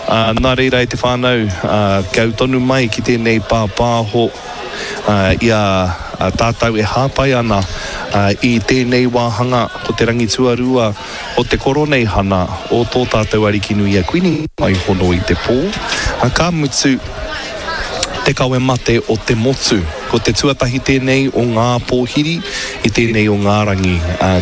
Nā reira e te whānau, kia ū tonu mai ki tēnei pāpāho i a tātou e hāpai ana i tēnei wāhanga ko te rangi tuarua o te Koroneihana o tō tātou Arikinui a Kuini Waihono i te pō, ka mutu te kawe mate o te motu. Ko te tuatahi tēnei o ngā pōhiri i tēnei o ngā rangi.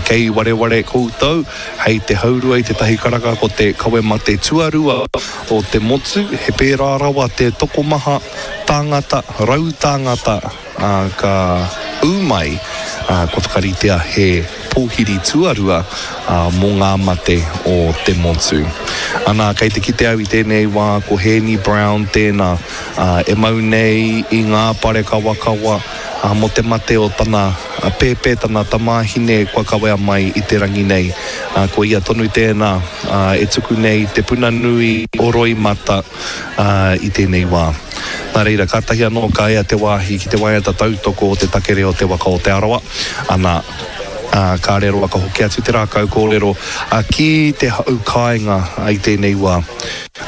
Kei wareware koutou, hei te haurua i te tahi karaka ko te kawe mate tuarua o te motu, he pērā rawa te tokomaha tāngata, rautāngata, ā, ka ū mai, ā, kua whakaritea he pōhiri tuarua, ā, mō ngā mate o te motu. Ana, kei te kite au i tēnei wā ko Hēni Brown tēnā, ā, e mau nei i ngā pare kawakawa, ā, mō te mate o tana pēpē, tana tamāhine kua kawea mai i te rangi nei. Ā, ko ia tonu tēnā, ā, e tuku nei i te puna nui o roimata, ā, i tēnei wā. Nā reira, kātahi anō ka ea te wāhi ki te waiata tautoko o te takere o te waka o Te Arawa, ana, ā, kāre roa ka hoki atu te rākau kōrero ki te hau kāinga i tēnei wā.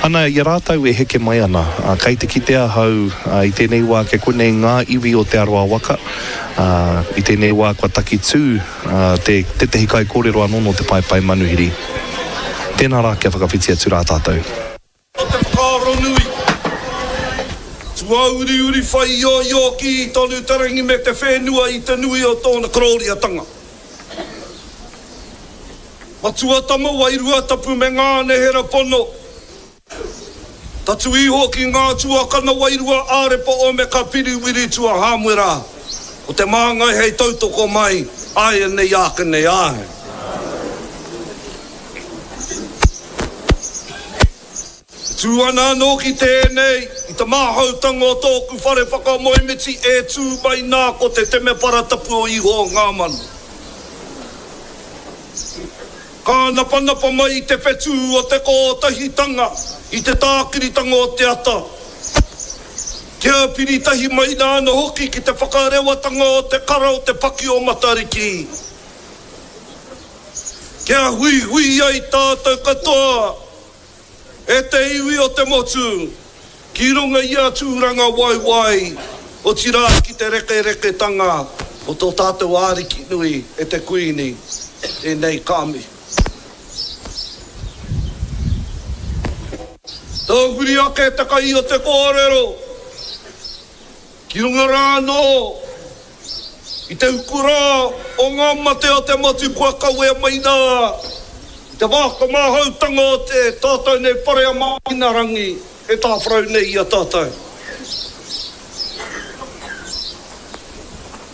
Ana, i a rātou e heke mai ana, ā, kei te kite ahau i tēnei wā kei konei ngā iwi o Te Arawa waka, ā, i tēnei wā kua takitū te, tētehi kaikōrero anō nō te paepae manuhiri. Tēnā rā kia whakawhiti atu rā tātou. Ko te whakaaro nui. Tuauriuri whai ioio kī tonu te rangi me te whenua i te nui o tōna korōriatanga. Matua tama wairua tapu me ngā nehera pono. Tatu iho ki ngā tuakana wairua ārepa o me ka piriwiri tua Hāmuera. Ko te māngai hei tautoko mai āianei āke nei āe. E tū ana anō ki tēnei, i te māhautanga o tōku whare whakamoemiti e tū mai nā ko te temepara tapu o Iho o ngā mano. Kānapanapa mai i te whetū o te kōtahitanga, i te tākiritanga o te ata, kia piri tahi mai rā anō hoki ki te whakarewatanga o te kara o te paki o Matariki. Kia huihui ai tātou katoa, e te iwi o te motu, ki runga i a Tūrangawaewae, otirā ki te rekereketanga o tō tātou Ariki nui e te Kuini, tēnei ka mihi. Tahuri ake te kai o te kōrero, ki runga rā anō I te uku rā o ngā mate o te motu kua kawea mai rā i te whakamāhautanga o te tātou nei whare a Māhinarangi e tāwharau nei i a tātou.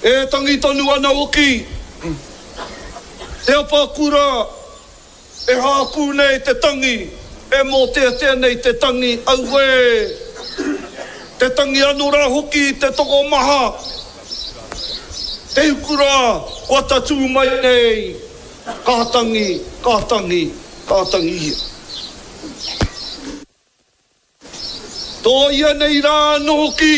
E tangi tonu ana hoki te apakura E hākū nei te tangi, e mōteatea nei te tangi, auē! Te tangi anō rā hoki i te tokomaha, te uku rā kua tatū mai nei, ka tangi, ka tangi, ka tangihia. Tōia nei rā anō hoki.